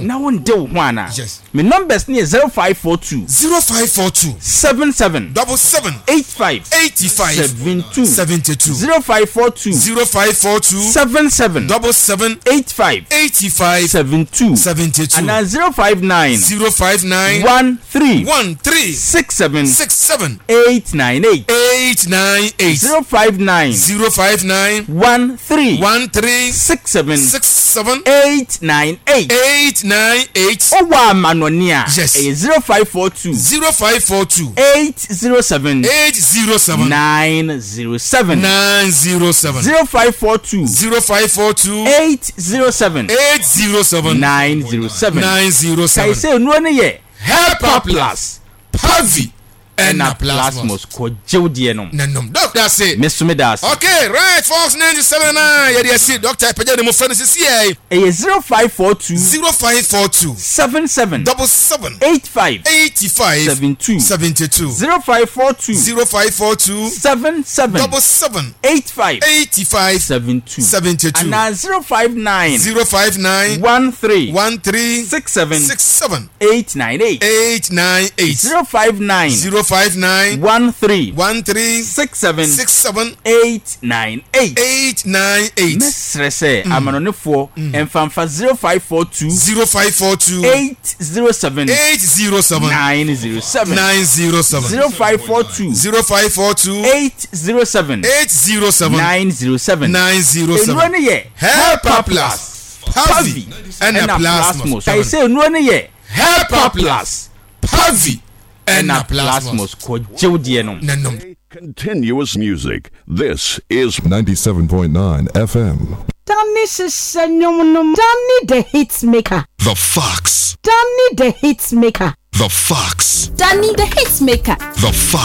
Speaker 3: na won de wo ho ana me numbers ni zero five four two
Speaker 2: zero five four two
Speaker 3: seven seven
Speaker 2: double seven
Speaker 3: eight five
Speaker 2: eighty five
Speaker 3: seven two
Speaker 2: seventy two
Speaker 3: zero five four two
Speaker 2: zero five four two
Speaker 3: seven seven
Speaker 2: double seven
Speaker 3: eight five
Speaker 2: eighty five
Speaker 3: seven two
Speaker 2: seventy two
Speaker 3: and then zero five nine
Speaker 2: zero five nine
Speaker 3: one three
Speaker 2: one three
Speaker 3: six seven
Speaker 2: six seven
Speaker 3: eight nine eight
Speaker 2: eight nine eight
Speaker 3: zero five nine
Speaker 2: zero five nine
Speaker 3: one three
Speaker 2: one three
Speaker 3: six seven
Speaker 2: six seven
Speaker 3: eight nine eight
Speaker 2: eight nine eight.
Speaker 3: Oh wa manonia
Speaker 2: yes
Speaker 3: zero five four two
Speaker 2: zero five four two
Speaker 3: eight zero seven
Speaker 2: eight zero seven
Speaker 3: nine zero seven
Speaker 2: nine zero seven
Speaker 3: zero five four two
Speaker 2: zero five four two
Speaker 3: eight zero seven
Speaker 2: eight zero seven
Speaker 3: nine zero seven
Speaker 2: nine zero seven.
Speaker 3: Kai say no ne ye
Speaker 2: Hepa Plus Pavi
Speaker 3: Ɛna Plasmos kɔgye wo deɛ nom.
Speaker 2: Na nom. Doc da ase.
Speaker 3: Me so me da ase.
Speaker 2: Okay right Fox ninety seven nine yɛde asi Doctor ɛpɛgya ne mu frɛ no sisi yɛ.
Speaker 3: Ɛyɛ zero five four two.
Speaker 2: Zero five four two.
Speaker 3: Seven seven.
Speaker 2: Double seven.
Speaker 3: Eight five.
Speaker 2: Eighty five.
Speaker 3: Seven two.
Speaker 2: Seventy two.
Speaker 3: Zero five four two.
Speaker 2: Zero five four two.
Speaker 3: Seven seven.
Speaker 2: Double seven.
Speaker 3: Eight five.
Speaker 2: Eighty five.
Speaker 3: Seven two.
Speaker 2: Seventy two.
Speaker 3: Anaa zero five nine.
Speaker 2: Zero five nine.
Speaker 3: One three.
Speaker 2: One three.
Speaker 3: Six seven.
Speaker 2: Six seven.
Speaker 3: Eight nine eight.
Speaker 2: Eight nine eight.
Speaker 3: Zero five nine.
Speaker 2: Zero five nine.
Speaker 3: One three.
Speaker 2: One three.
Speaker 3: Six seven.
Speaker 2: Six seven.
Speaker 3: Eight nine eight.
Speaker 2: Eight nine eight.
Speaker 3: Mɛsrɛ sɛ amanɔnefoɔ mfa mfa zero five four two.
Speaker 2: Zero five four two.
Speaker 3: Eight zero seven.
Speaker 2: Eight zero seven.
Speaker 3: Nine zero seven.
Speaker 2: Nine zero seven.
Speaker 3: Zero five four two.
Speaker 2: Zero five four two.
Speaker 3: Eight zero seven.
Speaker 2: Eight zero seven.
Speaker 3: Nine zero seven.
Speaker 2: Nine zero seven.
Speaker 3: Nnuro no yɛ
Speaker 2: Helper Plus, Pavi, ɛna Plasmos.
Speaker 3: Kae sɛ nnuro no yɛ
Speaker 2: Helper Plus, Pavi, ɛna
Speaker 3: ɛna Plasmos. Kɔgye wo deɛ nom.
Speaker 2: Na nom.
Speaker 9: Continuous music. This is
Speaker 10: ninety-seven point nine F M.
Speaker 11: Danny hyehyɛ nnwom no. Danny the Hitmaker.
Speaker 10: The Fox.
Speaker 11: Danny the Hitmaker.
Speaker 10: The Fox.
Speaker 12: Danny the Hitmaker.
Speaker 10: The Fox.